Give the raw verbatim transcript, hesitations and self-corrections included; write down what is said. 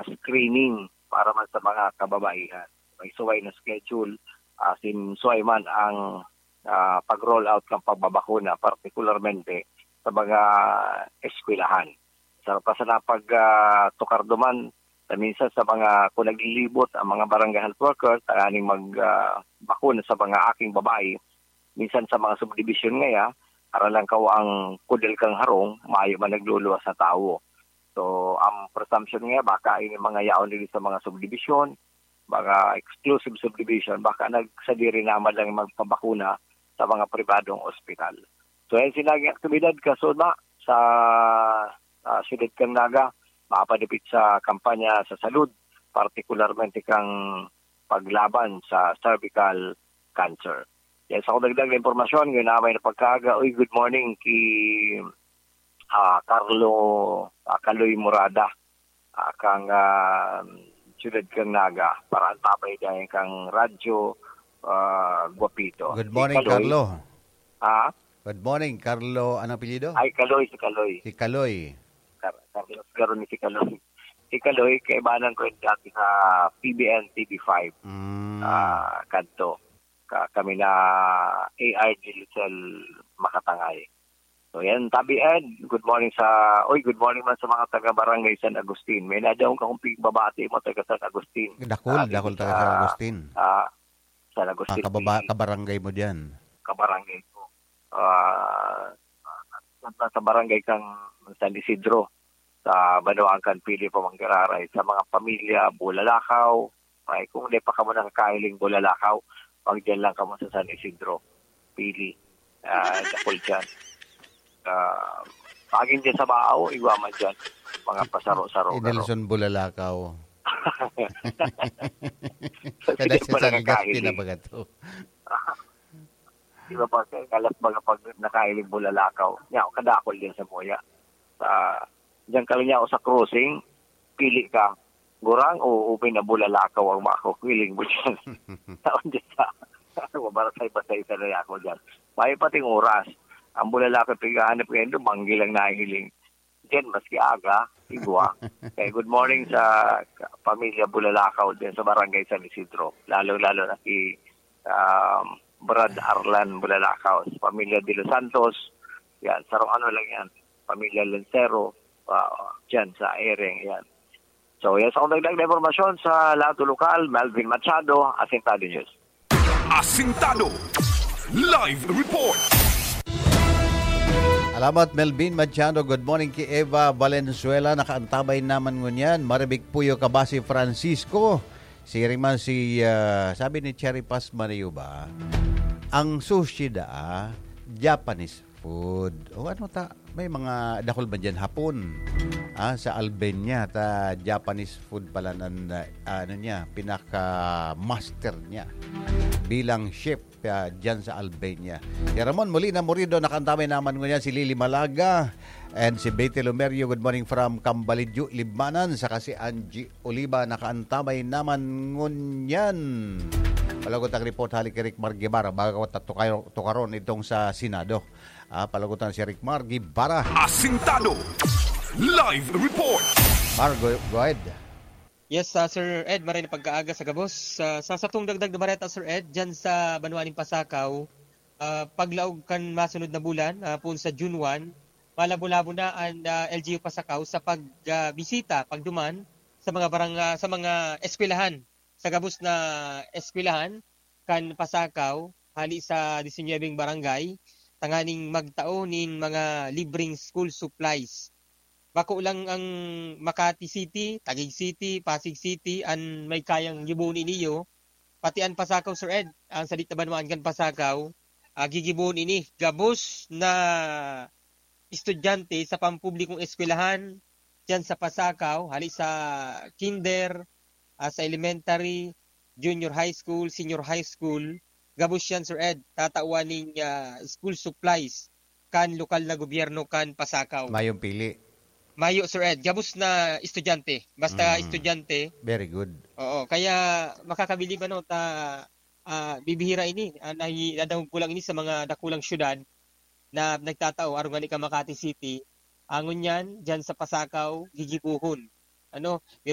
screening para man sa mga kababaihan. May suway na schedule, asin suway man ang, ah, pag-roll out kan pagbabakuna, partikularmente sa mga eskwelahan. Sa pa sa napag, ah, tukar duman, sa minsan sa mga, kung naglilibot ang mga barangay health workers, tanganing mag, ah, bakuna sa mga aking babae, minsan sa mga subdivision ngaya, aram lang kaw ang kudal kan harong, mayo man nagluluwas na tawo. So, ang presumption ngaya, baka ini mga yaon diri sa mga subdivision, mga exclusive subdivision, baka nagsadiri naman lang magpabakuna sa mga pribadong ospital. So, yan sinaging aktibidad kasuna sa, ah, siyudad kan Naga, mapadipit sa kampanya sa salud, partikularmente kang paglaban sa cervical cancer. Yan sa dagdag na impormasyon, ngayon na may napagkaaga. Uy, good morning ki, ah, Carlo, ah, Kaloy Murada, ah, kang, ah, siyudad kang Naga. Para ang tabay dyan kang Radyo, ah, Guapito. Good Si morning, Kaloy. Carlo. Ha? Good morning, Carlo. Ano apelyido? Ay, Kaloy, si Kaloy. Si Kaloy. Car-, Carlos Garoni si Kaloy. Si Kaloy, kaibanan ko yung dati sa P B N T V five. Mm. Ah, kadto. Ka-, kami na A R D Litzel Makatangay. So, yan, Tabi Ed, good morning sa, oy, good morning man sa mga taga Barangay San Agustin. May nadaong kakong pigbabati mo, taga San Agustin. Dakul, Ah, dakul taga sa, San Agustin. ah, San Agustin, Mga kababa-, P C. kabarangay mo diyan. Kabarangay ko. Ah, sa, sa barangay kang San Isidro, sa Banwaan kan Pili, Pamangkiraray, sa mga pamilya, Bulalakaw, ay, kung di pa kamo nakakahiling Bulalakaw, pag dyan lang kamo sa San Isidro, Pili, ah, dakul dyan. Ah, pagin dyan sa Bao, igwa man dyan, mga pasaro-saro, Si pero Nelson Bulalakaw. Kada Sige, sa pala San Agustin na nakahiling. baga to. Di ba, pag kalas mga pag nakahiling Bulalakaw, nya, kadakol dyan sa Moya. Sa, dyan ka lang niya sa crossing, pili ka, gurang o umi na Bulalakaw ang makukuhiling mo dyan. Taon dyan sa, mabarasay-basay sa na ako dyan. May pating oras. Ang Bulalakaw, pighahanap kayo, dumanggi lang nahiling. Diyan, maski aga, igwa. Kaya good morning sa ka-, pamilya Bulalakaw din sa Barangay San Isidro. Lalo-lalo na si, um, Brad Arlan Bulalakaw, sa pamilya De Los Santos. Yan, sarong ano lang yan, pamilya Lancero, ah, dyan sa Ereng, yan. So, yan sa akong dagdag na impormasyon sa Lato Lokal, Melvin Machado, Asintado News. Asintado. Live report. Alamat, Melvin Machado. Good morning ki Eva Valenzuela. Nakaantabay naman ngunyan. Maribik Puyo Kabasi Francisco. Siring man si, ah, sabi ni Cherry Paz Mariuba, ang sushi da, ah, Japanese food. O ano ta, may mga dakul man dyan, Hapon. Ah, sa Albania, ta Japanese food pala nan, ah, ano niya, pinaka-master niya bilang chef, ah, dyan sa Albania. Si Ramon Molina Morido, nakaantabay naman ngunyan si Lily Malaga and si Betty Lumerio. Good morning from Cambalidyo, Libmanan. Saka si Angie Oliva, nakaantabay naman ngunyan. Palagot ang report hali kay Rick Mar Guevara, bago ta tukay-, tukaron itong sa Senado. Ah, palagutan si Rick Mar Guevara. Asintado. Live report. Mar, go, go ahead. Yes, ah, Sir Ed, maray na pagkaaga sa gabos. Sa, sa satong dagdag na bareta, Sir Ed, dyan sa banwa nin Pasakaw, ah, paglaog kan masunod na bulan, ah, poon sa June one, malabo-labo na an, ah, L G U Pasakaw sa pag, ah, bisita, pagduman sa mga barang-, ah, sa mga eskwelahan, sa gabos na eskwelahan kan Pasakaw, hali sa disinuyebeng barangay, tanganing magtao nin mga libreng school supplies. Bako lang ang Makati City, Taguig City, Pasig City an may kayang gibohon ini, pati an Pasakaw, Sir Ed, ang sadit na banwaan kan Pasakaw, ah, gigibohon ini. Gabos na estudyante sa pampublikong eskwelahan diyan sa Pasakaw, hali sa kinder, ah, sa elementary, junior high school, senior high school, gabos yan, Sir Ed, tatawan ning, ah, school supplies kan lokal na gobyerno kan Pasakaw. Mayong pili. Mayo, Sir Ed, gabos na estudyante. Basta Mm. estudyante. Very good. Oo, kaya makakabilib, ano, ta, ah, bibihira ini. Ah, nahi-, nadangog ko lang ini sa mga dakulang syudad na nagtatao, arog ngani kan Makati City. Ngunyan, diyan sa Pasakaw, gigibohon. Ano, pero